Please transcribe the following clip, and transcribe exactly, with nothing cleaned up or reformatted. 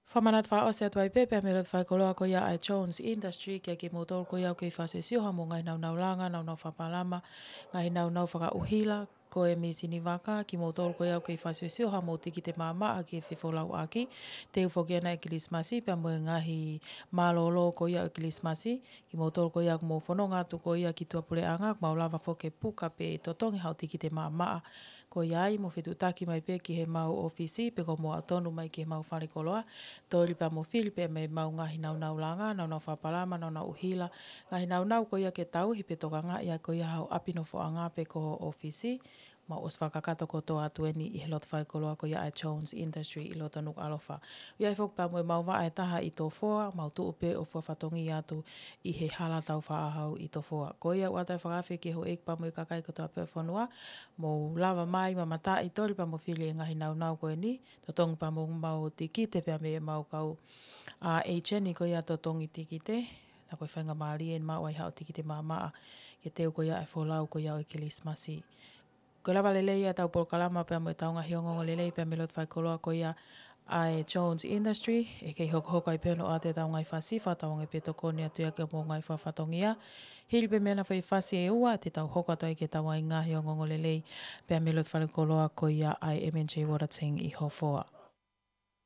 Fakamanatu fakaʻosi atu ai pē pea mei loto faikoloa ko ia ʻa e Jones Industry, kiate kimoutolu ko ia ʻoku kei fakasiosio haʻamou ngaahi naunau langa, naunau fakapalama, ngaahi naunau fakaʻuhila, ko e mīsini vaka, kimoutolu ko ia ʻoku kei fakasiosio haʻamou tikite maʻamaʻa ke fefolauʻaki, teu foki ʻena ʻi he Kilisimasi, pea mo e ngaahi mālōlō ko ia ʻo e Kilisimasi, kimoutolu ko ia ʻoku mou fononga atu ko ia ki tuʻapuleʻanga, ʻoku mau lava foki ke puka pe totongi haʻo tikite maʻamaʻa. Ko ia ai mou fetuʻutaki mai pē ki heʻemau ʻōfisi, pe ko hoʻomou aʻu tonu mai ki heʻemau falekoloa, toli pea mo fili pē mei heʻemau ngaahi naunau langa, naunau fakapalama, naunau ʻuhila, ngaahi naunau ko ia ke tauhi pe tokangaʻi ʻa ko ia haʻo ʻapi nofoʻanga pe ko ho ʻōfisi, mau ʻosi fakakakato kotoa atu eni ʻi he loto faikoloa ko ia ʻa e Jones Industry ʻi loto Nukuʻalofa. ʻOku ʻi ai foki pea mo ʻemau vaʻa ʻe taha ʻi Tofoa, mau tuʻu pē ʻo fua fatongia atu ʻi he hala tau faʻahau ʻi Tofoa. Ko ia ʻoku ʻoatu ai e fakaafe ki he houʻeiki pea mo e kakai kotoa pē ʻo e fonua, mou lava mai mamataʻi, toli pea mo fili e ngaahi naunau ko eni, totongi pea mo homou tikite pea mei heʻemau kau ʻa e ʻeiseni ko ia totongi tikite, na ko e faingamālie eni maʻu ai haʻo tikite maʻamaʻa, ke teu ko ia e folau ko ia ʻo e Kilisimasi. Ko e lava lelei ʻetau polokalama pea mo ʻetau ngaahi ongoongolelei pea mei loto faikoloa ko ia ʻa e Jones Industry, ʻe kei hokohoko ai pē hono ʻoatu ʻetau ngaahi fasi, fakatauange pē tokoni atu ia ki hoʻomou ngaahi fua fatongia. Hili pē mei heʻena foʻi fasi ʻe ua, te tau hoko atu ai ki heʻetau ngaahi ongoongolelei pea mei loto faikoloa ko ia ʻa e M and J Water Tank ʻi Hofoa.